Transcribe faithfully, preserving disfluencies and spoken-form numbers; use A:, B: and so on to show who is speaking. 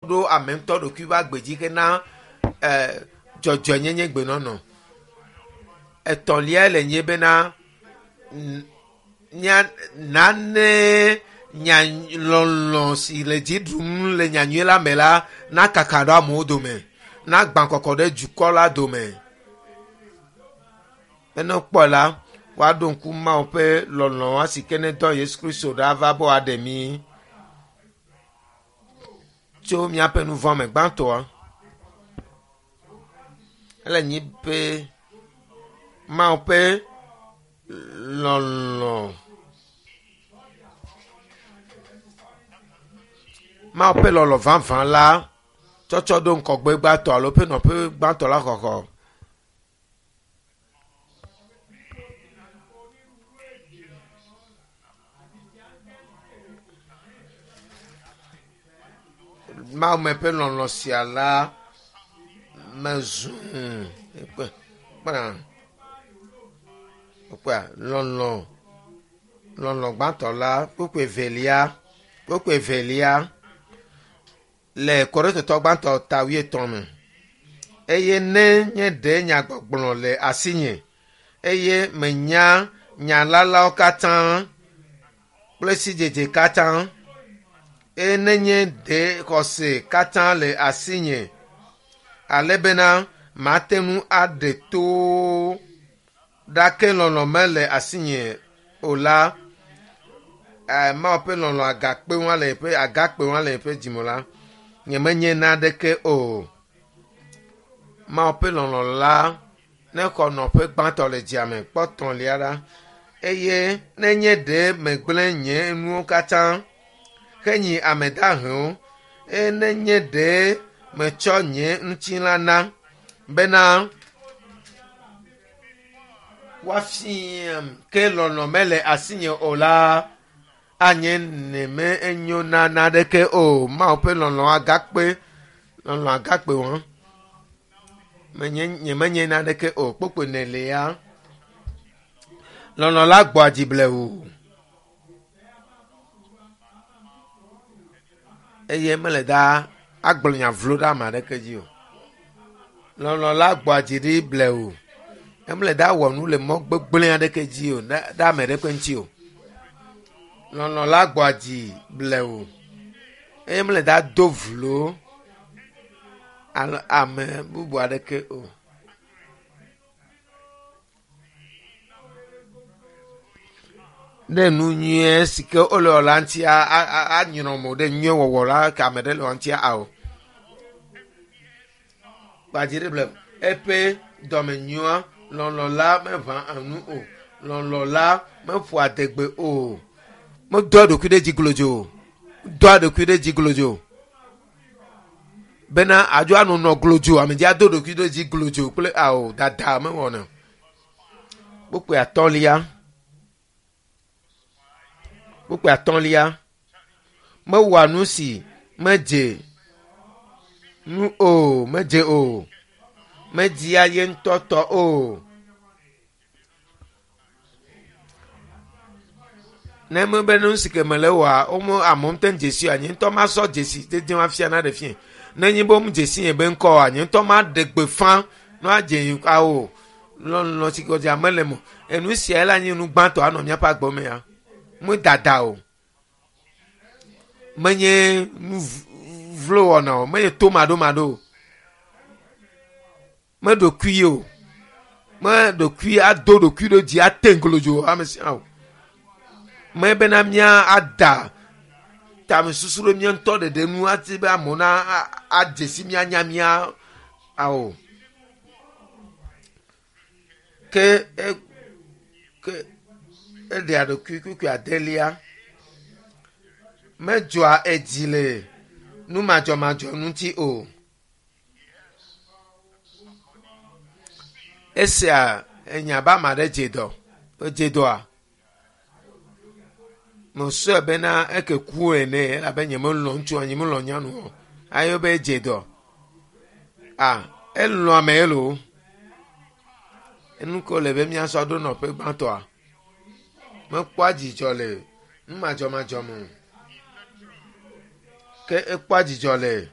A: ɖo ame ŋutɔ ɖokui ƒe agbe dzi hena eh, dzɔdzɔenyenye gbenɔnɔ. Etɔ̃lia le nye bena n- nya nane nya lɔlɔ si le dzi ɖum le nyanyui la me la nakaka ɖe amewo dome nagbã kɔkɔ ɖe dukɔ la dome. Ne wokpɔe la, woaɖo ŋku Mawu ƒe lɔlɔ si ke ne dɔ Yesu Kristo ɖa va be wòaɖe mí tso míaƒe nu vɔ̃ me gbãtɔa. Ele nyi be Mawu ƒe lɔlɔ Mawu ƒe lɔlɔ vavã la tsɔtsɔ ɖo ŋgɔgbe gbãtɔ alo ƒe nɔƒe gbãtɔ la xɔxɔ. Mawu me ƒe lɔlɔ sia la mezu kpe kpena kpea lɔlɔ lɔlɔ gbãtɔ la kpukpu evelia kpukpu evelia le Korintotɔ gbãtɔ ta wuietɔ̃ me. Eye ne nye ɖe nyagbɔgblɔ le asinye eye menya nyalalawo katã kple sidzedze katã eye ne nye ɖe xɔse katã le asinye ale bena mate ŋu aɖe towo ɖake lɔlɔ mele asinye o la, eh, Mawu ƒe lɔlɔ agakpe ŋua le eƒe agakpe ŋua le eƒe dzime la, nyemenye naneke o. Mawu ƒe lɔlɔ la ne xɔ nɔƒe gbãtɔ le dzia me kpɔ tɔ̃lia ɖa eye nenye ɖe megblẽ nye nuwo katã henyi ame dahewo eye nenye ɖe metsɔ nye ŋutilã na bena woafiam ke lɔlɔ mele asinye o la anye neme enyo na naneke o. Mawu ƒe lɔlɔ agakpe lɔlɔ agakpe wɔn menye nyemenye naneke o. Kpokpo nelia lɔlɔ la gbɔa dzi blewu eye mele da agblɔ nya vlo ɖe ame aɖeke dzi o. Lɔlɔ la gbɔa dzi ɖi blewu emele da wɔ nu le mɔ gbegblẽ aɖeke dzi o ɖe ɖe ame ɖeke ŋuti o. Lɔlɔ la gbɔa dzi blewu eye mele da do vlo alo ame bubu aɖeke o. Ɖe nu nyuie si ke wole wɔ la ŋutia a- a- anyrɔ mo ɖe nyuie wɔwɔ la ke ame ɖe le wɔ ŋutia ao. Gbadzi ɖe ble eƒe dɔmenyoa lɔlɔ la meʋã enu o. Lɔlɔ la meƒoa adegbe o. Medoa eɖokui ɖe dzi glodzo o. Doa eɖokui ɖe dzi glodzo. Bena adzo anɔ nɔ glodzo ame dzi ado ɖokui ɖe dzi glodzo kple ao dada mewɔna. Kpukpui atɔ̃lia. Kpukpui atɔ̃lia. Mewɔa nu si medze nu o, medze o. Media ye ŋutɔ tɔ o. Ne mebe nu si ke mele wɔa, womo amewo ŋutɔ dzesi oa, nye ŋutɔ masɔ dzesi dede afia na ɖe fie. Ne nye be womu dzesi nye be ŋkɔ oa, nye ŋutɔ maɖe gbeƒã ne woadze yi awo. Lɔlɔ si ke wodze mele mo. Enu sia la nye nu gbãtɔ anɔ míaƒe agbe me ya. Medada o. Menye nu vlo wɔna o. Menye tomaɖomaɖo o. Meɖokui o. Meɖokui ado ɖokui ɖe dzi ate ŋglodzo ame sia o. Mebena mía ada tamesusu ɖe mía ŋutɔ ɖeɖe nu ati be amewo na adze si míanya mía ao. Ke e ke eɖea ɖokui kpukpui adelia medzɔa edzi le numadzɔmadzɔ ŋuti o. Esia enya be ame aɖe dze dɔ. Edze dɔa? Mesɔe bena eke ku ene elabe nyemelɔ̃ ŋutsua nyemelɔ̃ nyɔnu o. Ayo be edze dɔ. Ah, elɔ̃ ame elo. Enu ke wòle be míasɔ ɖo nɔƒe gbãtɔa. Mekpɔa dzidzɔ le numadzɔmadzɔ me o. Ke ekpɔa dzidzɔ le